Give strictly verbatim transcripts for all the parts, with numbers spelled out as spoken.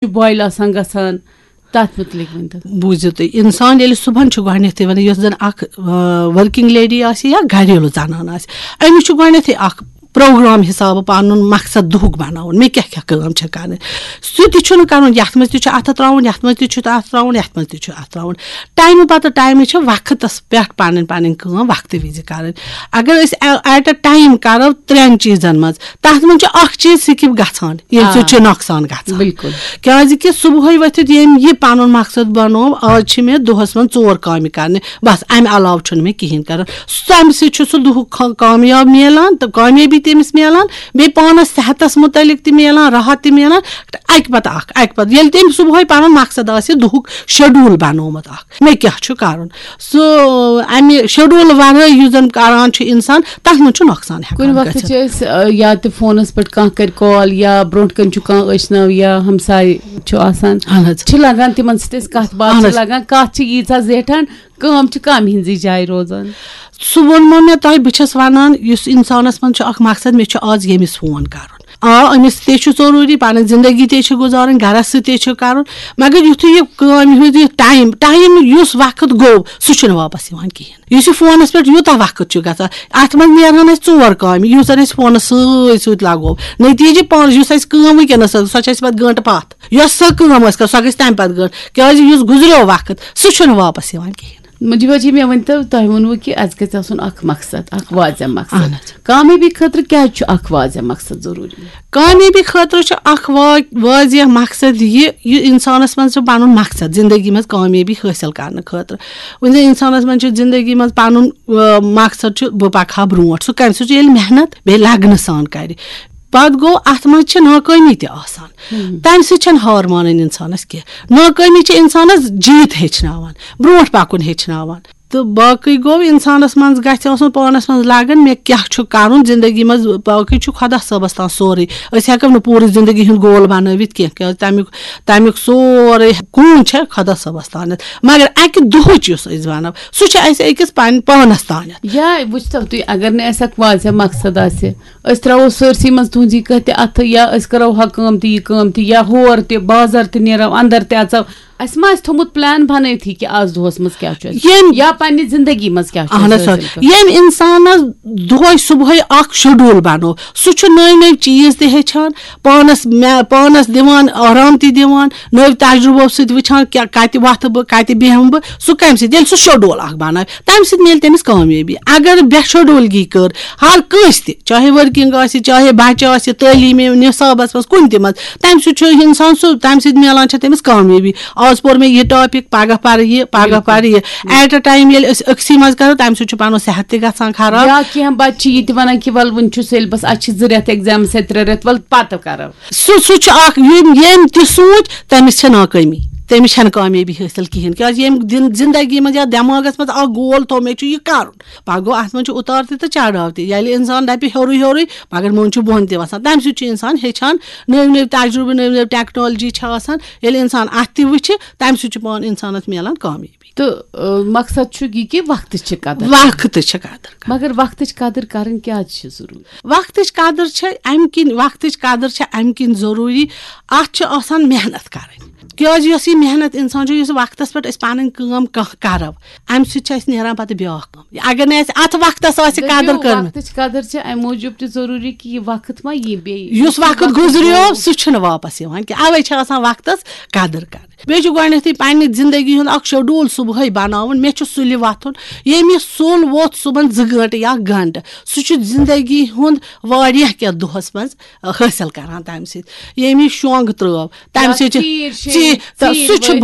چھُ بویِل آسان گژھان، تَتھ مُتعلِق ؤنۍ تو۔ بوٗزِو تُہۍ، اِنسان ییٚلہِ صُبحن چھُ گۄڈٕنٮ۪تھٕے وَنان، یۄس زَن اَکھ ؤرکِنگ لیڈی آسہِ یا گَریلوٗ زَنان آسہِ، أمِس چھُ گۄڈٕنٮ۪تھٕے اَکھ پروگرام حِسابہٕ پَنُن مقصد دُہُک بَناوُن، مےٚ کیٛاہ کیٛاہ کٲم چھےٚ کَرٕنۍ۔ سُہ تہِ چھُنہٕ کَرُن، یَتھ منٛز تہِ چھُ اَتھٕ ترٛاوُن، یَتھ منٛز تہِ چھُ اَتھٕ ترٛاوُن، یَتھ منٛز تہِ چھُ اَتھٕ ترٛاوُن۔ ٹایمہٕ پَتہٕ ٹایمہٕ چھِ وقتَس پٮ۪ٹھ پَنٕنۍ پَنٕنۍ کٲم وقتہٕ وِزِ کَرٕنۍ۔ اگر أسۍ ایٹ اَ ٹایم کَرو ترٛٮ۪ن چیٖزَن منٛز، تَتھ منٛز چھُ اَکھ چیٖز سِکِپ گژھان، ییٚمہِ آ۔ سۭتۍ چھُ نۄقصان گژھان۔ بِلکُل۔ کیٛازِ کہِ صُبحٲے ؤتھِتھ ییٚمۍ یہِ پَنُن مقصد بَنوو، آز چھِ مےٚ دۄہَس منٛز ژور کامہِ کَرنہِ، بَس اَمہِ علاوٕ چھُنہٕ مےٚ کِہیٖنۍ کَرُن۔ تَمہِ سۭتۍ چھُ سُہ دُہُک کھا-، کامیاب میلان تہٕ کامیٲبی تٔمِس میلان، بیٚیہِ پانَس صحتَس مُتعلِق تہِ میلان، راحت تہِ میلان۔ اَکہِ پَتہٕ اَکھ، اَکہِ پَتہٕ ییٚلہِ تٔمۍ صُبحٲے پَنُن مقصد آسہِ دُہُک شیڈول بَنومُت اَکھ، مےٚ کیٛاہ چھُ کَرُن، سُہ اَمہِ شیڈول وَرٲے یُس زَن کَران چھُ اِنسان، تَتھ منٛز چھُ نۄقصان ہٮ۪کان کُنہِ وقتہٕ گٔژھِتھ۔ چھِ أسۍ، آ، یا تہِ فونَس پٮ۪ٹھ کانٛہہ کَرِ کال یا برونٛٹھ کَنہِ چھُ کانٛہہ ٲشناو یا ہمساے چھُ آسان، اہن حظ۔ چھِ لَگان تِمَن سۭتۍ أسۍ کَتھ باتھ اہن چھِ حظ۔ لَگان، کَتھ چھِ ییٖژاہ زیٹھان، کٲم چھِ کَم ہِنٛزٕے جایہِ روزان۔ سُہ ووٚنمو مےٚ تۄہہِ، بہٕ چھَس وَنان، یُس اِنسانَس منٛز چھُ اَکھ مقصد، مےٚ چھُ آز ییٚمِس فون کَرُن۔ آ، أمِس تہِ چھُ ضروٗری، پَنٕنۍ زِندگی تہِ چھِ گُزارٕنۍ، گَرَس سۭتۍ تہِ چھُ کَرُن، مگر یُتھُے یہِ کٲم ہُنٛد یہِ ٹایم، ٹایم یُس وقت گوٚو، سُہ چھُنہٕ واپَس یِوان کِہیٖنۍ۔ یُس یہِ فونَس پٮ۪ٹھ یوٗتاہ وقت چھُ گژھان، اَتھ منٛز نیرہَن اَسہِ ژور کامہِ، یُس زَن اَسہِ فونَس سۭتۍ سۭتۍ لَگوو۔ نٔتیٖجہِ پانَس، یُس اَسہِ کٲم وٕنکیٚنَس ٲس، سۄ چھِ اَسہِ پَتہٕ گٲنٛٹہٕ پَتھ۔ یۄس سۄ کٲم ٲس کَران، سۄ گژھِ تَمہِ پَتہٕ گٲنٛٹہٕ، کیٛازِ یُس گُزریو وقت، سُہ چھُنہٕ واپَس یِوان کِہیٖنۍ۔ مجیبہ جی، مےٚ ؤنۍ تو، تۄہہِ ووٚنوُ کہِ اَسہِ گژھِ آسُن اَکھ مقصد، اَکھ واضح مقصد۔ اہن حظ۔ کامیٲبی خٲطرٕ کیٛازِ چھُ اَکھ واضح مقصد ضروٗری؟ کامیٲبی خٲطرٕ چھُ اَکھ وا-، واضح مقصد یہِ، یہِ اِنسانَس منٛز چھُ پَنُن مقصد زِندگی منٛز کامیٲبی حٲصِل کَرنہٕ خٲطرٕ۔ وۄنۍ زَن اِنسانَس منٛز چھُ زِندگی منٛز پَنُن، آ، مقصد چھُ بہٕ پَکہٕ ہا برونٛٹھ، سُہ کَمہِ سۭتۍ چھُ؟ ییٚلہِ محنت بیٚیہِ لگنہٕ سان کَرِ۔ پَتہٕ گوٚو، اَتھ منٛز چھِ ناکٲمی تہِ آسان، تَمہِ سۭتۍ چھَنہٕ ہار مانٕنۍ اِنسانَس کینٛہہ۔ ناکٲمی چھِ اِنسانَس جیٖت ہیٚچھناوان، برونٛٹھ پَکُن ہیٚچھناوان۔ تہٕ باقٕے گوٚو، اِنسانَس منٛز گژھِ آسُن پانَس منٛز لگن، مےٚ کیٛاہ چھُ کَرُن زِندگی منٛز۔ باقٕے چھُ خۄدا صٲبَس تام سورُے، أسۍ ہٮ۪کو نہٕ پوٗرٕ زِندگی ہُنٛد گول بَنٲوِتھ کینٛہہ، کیٛازِ تَمیُک، تَمیُک سورُے کُن چھےٚ خۄدا صٲبَس تامَتھ۔ مگر اَکہِ دُہٕچ یُس أسۍ بَناو، سُہ چھُ اَسہِ أکِس پَنٕنۍ پانَس تامَتھ۔ یا وٕچھتو تُہۍ، اگر نہٕ اَسہِ اَکھ واضح مقصد آسہِ، أسۍ ترٛاوو سٲرسٕے منٛز تُہٕنٛز یہِ کَتھ تہِ اَتھٕ، یا أسۍ کَرو ہا کٲم تہِ یہِ کٲم تہِ، یا ہور تہِ بازر تہِ نیرو، اندر تہِ اژو۔ اَسہِ ما آسہِ تھوٚمُت پلان بنٲیتھٕے کہِ آز دۄہس منٛز کیٛاہ چھُ اَسہِ، ییٚمۍ یا پننہِ زندگی منٛز کیٛاہ چھُ اہن اَسہِ حظ، حٲصِل کَرُن؟ ییٚمۍ اِنسانَس دۄہے صُبحٲے اَکھ شیڈول بنوو، سُہ چھُ نٔوۍ نٔوۍ چیٖز تہِ ہیٚچھان، پانَس مےٚ پانَس دِوان آرام تہِ دِوان، نٔوۍ تجرُبو سۭتۍ وٕچھان کیٛاہ، کَتہِ وۄتھٕ بہٕ، کَتہِ بیٚہمہٕ بہٕ۔ سُہ کَمہِ سۭتۍ؟ ییٚلہِ سُہ شیڈول اَکھ بناوِ، تَمہِ سۭتۍ میلہِ تٔمِس کامیٲبی۔ اگر بے شیڈولگی کٔر ہر کٲنٛسہِ تہِ، چاہے ورکنگ آسہِ، چاہے بچہِ آسہِ، تعلیٖمی نصابس منٛز، کُنہِ تہِ منٛز، تَمہِ سۭتۍ چھُ اِنسان سُہ، تَمہِ سۭتۍ میلان چھےٚ تٔمِس کامیٲبی۔ آز پوٚر مےٚ یہِ ٹاپک، پگاہ پرٕ یہِ، پگاہ بِلکُل۔ پرٕ یہِ۔ ایٹ اے ٹایم ییٚلہِ أسۍ أکسٕے منٛز کرو، تَمہِ سۭتۍ چھُ پَنُن صحت تہِ گژھان خراب۔ یا کینٛہہ بچہِ چھِ یہِ تہِ وَنان کہِ وَلہٕ وُنہِ چھُ سیلبس، اَسہِ چھِ زٕ رٮ۪تھ ایگزامس یا ترٛےٚ رٮ۪تھ، وَلہٕ پَتہٕ کرو۔ سُہ سُہ چھُ اکھ، یِم ییٚمۍ تہِ سوٗنٛچ، تٔمِس چھےٚ ناکٲمی، تٔمِس چھَنہٕ کامیٲبی حٲصِل کِہیٖنۍ۔ کیٛازِ ییٚمۍ دِن زندگی منٛز یا دٮ۪ماغس منٛز اکھ گول تھوٚو، مےٚ چھُ یہِ کرُن، پَتہٕ گوٚو اَتھ منٛز چھُ اُتار تہِ تہٕ چڑاو تہِ۔ ییٚلہِ اِنسان دَپہِ ہیوٚرُے ہیوٚرُے، مگر منٛز چھُ بۄن تہِ وَسان۔ تَمہِ سۭتۍ چھُ اِنسان ہیٚچھان نٔوۍ نٔوۍ تجرُبہٕ، نٔوۍ نٔوۍ ٹیکنالجی چھِ آسان۔ ییٚلہِ اِنسان اَتھ تہِ وٕچھِ، تَمہِ سۭتۍ چھُ پانہٕ اِنسانَس میلان کامیٲبی۔ تہٕ، آ، مقصد چھُ یہِ کہِ وقتٕچ چھِ قدر۔ وقتٕچ چھِ قدر کرٕنۍ۔ مگر وقتٕچ قدر کرٕنۍ کیٛازِ چھِ ضروٗری؟ وقتٕچ قدر چھےٚ اَمہِ کِنۍ، وقتٕچ قدر چھےٚ اَمہِ کِنۍ ضروٗری، اَتھ چھِ آسان محنت کرٕنۍ۔ کیٛازِ یۄس یہِ محنت اِنسان چھُ، یُس وقتس پٮ۪ٹھ أسۍ پَنٕنۍ کٲم کانٛہہ کرو، اَمہِ سۭتۍ چھِ اَسہِ نیران پَتہٕ بیٛاکھ کٲم۔ اگر نہٕ اَسہِ اَتھ وقتس آسہِ قدر دٔپِو، کٔرمٕژ۔ وقتٕچ قدر چھِ اَمہِ موٗجوٗب تہِ ضروٗری کہِ یہِ وقت ما یی بیٚیہِ۔ یُس وقت گُزریو، سُہ چھُنہٕ واپس یِوان کینٛہہ۔ اَوَے چھِ آسان وقتس قدر کرٕنۍ۔ بیٚیہِ چھُ گۄڈٕنیتھٕے پننہِ زندگی ہُنٛد اکھ شیڈول صبحٲے بناوُن۔ مےٚ چھُ سُلہِ وۄتھُن۔ ییٚمہِ سُلہِ ووٚتھ صُبحن زٕ گٲنٛٹہٕ یا گھنٹہٕ، سُہ چھُ زندگی ہُنٛد واریاہ کینٛہہ دۄہس منٛز حٲصِل کران تمہِ سۭتۍ۔ ییٚمہِ شۄنٛگ ترٲو، تمہِ یا سۭتۍ چھِ ژیٖرۍ شیٚیہِ، ژیٖرۍ، ژیٖرۍ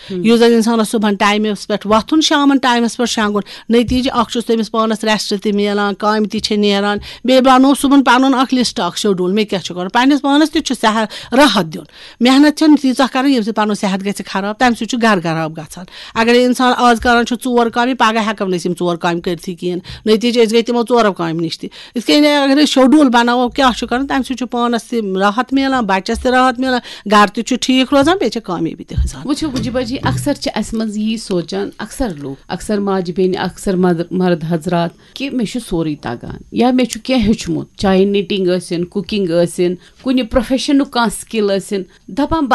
یُس زن ؤتھۍ۔ انسانس صبحن ٹایمس پٮ۪ٹھ وۄتھُن، شامن ٹایمس پٮ۪ٹھ شۄنٛگُن، نتیٖجہٕ اکھ چھُس تٔمِس پانس ریسٹ تہِ میلان، کامہِ تہِ چھِ نیران۔ بیٚیہِ بنوو صبحن پنُن اکھ لسٹ، اکھ شیڈول، مےٚ کیٛاہ چھُ کرُن۔ پننِس پانس تہِ چھُ صحت، راحت دیُن۔ محنت چھَنہٕ تیٖژاہ کَرٕنۍ، ییٚمہِ سۭتۍ پَنُن صحت گژھِ خراب، تَمہِ سۭتۍ چھُ گَرٕ خراب گژھان۔ اگر اِنسان آز کَران چھُ ژور کامہِ، پَگاہ ہٮ۪کو نہٕ أسۍ یِم ژور کامہِ کٔرتھٕے کِہیٖنۍ، نٔتیٖجہٕ أسۍ گٔے تِمو ژورو کامہِ نِش تہِ۔ یِتھ کٔنۍ اگر أسۍ شیڈول بَناوو کیٛاہ چھُ کَرُن، تَمہِ سۭتۍ چھُ پانَس تہِ راحت میلان، بَچَس تہِ راحت میلان، گَرٕ تہِ چھُ ٹھیٖک روزان، بیٚیہِ چھِ کامیٲبی تہِ گژھان۔ وٕچھِو مجیبہ جی، اکثر چھِ اَسہِ منٛز یی سونٛچان، اکثر لوٗکھ، اکثر ماجہِ بیٚنہِ، اکثر مد-، مرد حضرات، کہِ مےٚ چھُ سورُے تَگان یا مےٚ چھُ کینٛہہ ہیوٚچھمُت، چاہے نِٹِنٛگ ٲسِن، کُکِنٛگ ٲسِن، کُنہِ پروفیشنُک کانٛہہ سِکِل ٲسِن، دَپان بَس،